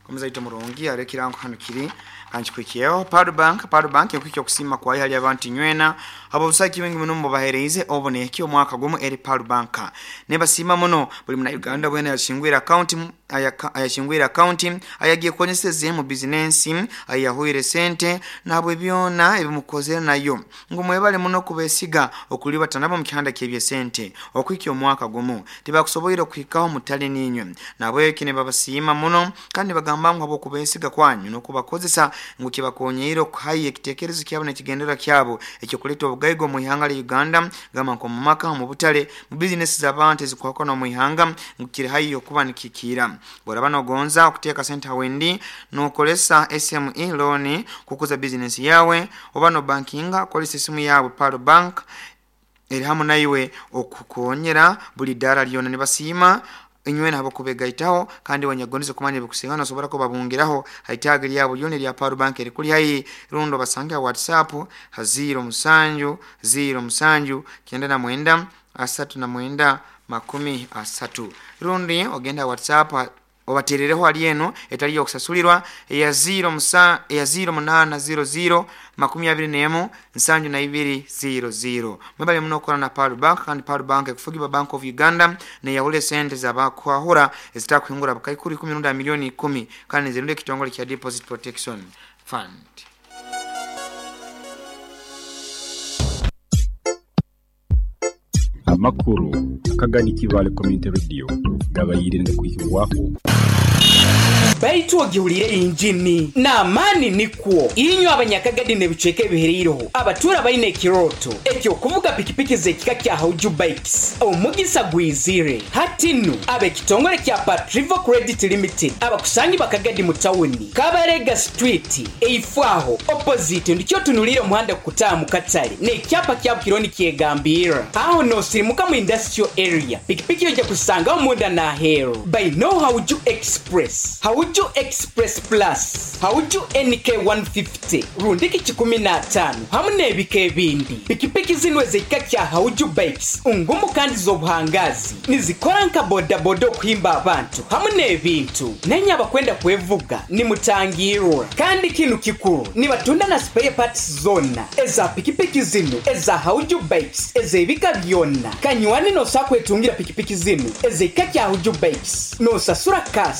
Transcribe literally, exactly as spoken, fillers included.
Omuzaito murungi arekirango hano kiri kanchikwikiyeho Paru Bank. Paru Bank ekuikya okusima kwayo hali abantu nywena abo busaki wingi muno mubahereize oboneki omwaka gumu eri Paru Bank. Nebasiima muno buli muna Uganda bwena yashingwira account ayashingwira account ayagiye konyeseze mu business ayahuire sente nabwe byona ebimukozere nayo ngo mwebale muno kubesiga okuliba tanabo mu kihanda kyebye sente okwikya omwaka gumu tibakusoboire okuhikaho mutali ninywe nabwe kine babasiima muno kandi bagamba ngo abokubesiga kwanyu nokubakozesa ngo kibakonyeire okuhaye ekitekerezo kyabo nekigendera kyabo ekyo kuleta obugaigo mu ihanga lya Uganda gamba nko mu maka mu butale mu business z'abantu ezikwakona mu ihanga ngo kiri hayo kuba nikikira boraba nogonza okuteeka sente hawendi nokolesa S M E loan kukuza business yawe oba no bankinga kolesa esimu yawe Paru Bank eri hamu naiwe okukonyera buli dara lyona nibasiima inywe nabo kubegaitaho kandi wanyagonize kumanya bikusigana sobora ko babungiraho haitaga lyabo lyone lya Paru Bank eri kuli hayi rundo basange WhatsApp ha zero musanju zero musanju kenda na mwenda asatu na mwenda makumi asatu rundi ogenda WhatsApp obaterereho ali eno etali yokusasulirwa ya zero musa ya zero munana zero zero makumi abiri nemu nsanju na ibiri zero zero. Mwebale muno okora na Paru Bank kandi Paru Bank ekufugiba Bank of Uganda ne yahule sente z'abakwahura ezitakuhingura bukaikuru ikumi nunda milioni ikumi kandi zirunde ekitongole kya Deposit Protection Fund. Amakuru akagani Kibale Community Radio gabayirinde kuhibwaho baitu ogihulire injini n'amaani nikwo inywe abanyakagadi n'ebicweka ebihereireho abatura baine ekiroto ekyokuvuga pikipiki z'ekika kya Hauju Bikes omugisa gwizire hati nnu ab'ekitongole kya Patrivo Credit Limited abakusangi bakagadi mu tawuni Kabarega Street eifwaho opposite ndikyo tunulire omuhanda kukutaaha mu katale n'ekyapa kya Bukironi kyegambira aho nosirimuka mu industrial area pikipiki ojja kusangaho munda n'aheeru by no Hauju Express Hauju Express Plus Hauju N K one fifty rundiki kikumi na tano hamu n'ebika ebindi pikipiki zino ez'ekika kya Hauju Bikes ngumu kandi z'obuhangazi nizikora nka bodaboda okuhimba abantu hamu n'ebintu nenye abakwenda kwevuga nimutangirwa kandi kinu kikuru nibatunda na spare parts zona eza pikipiki zino eza Hauju Bikes ez'ebika byonna kanywani nosakwetungira pikipiki zino ez'ekika kya Hauju Bikes nosasura cash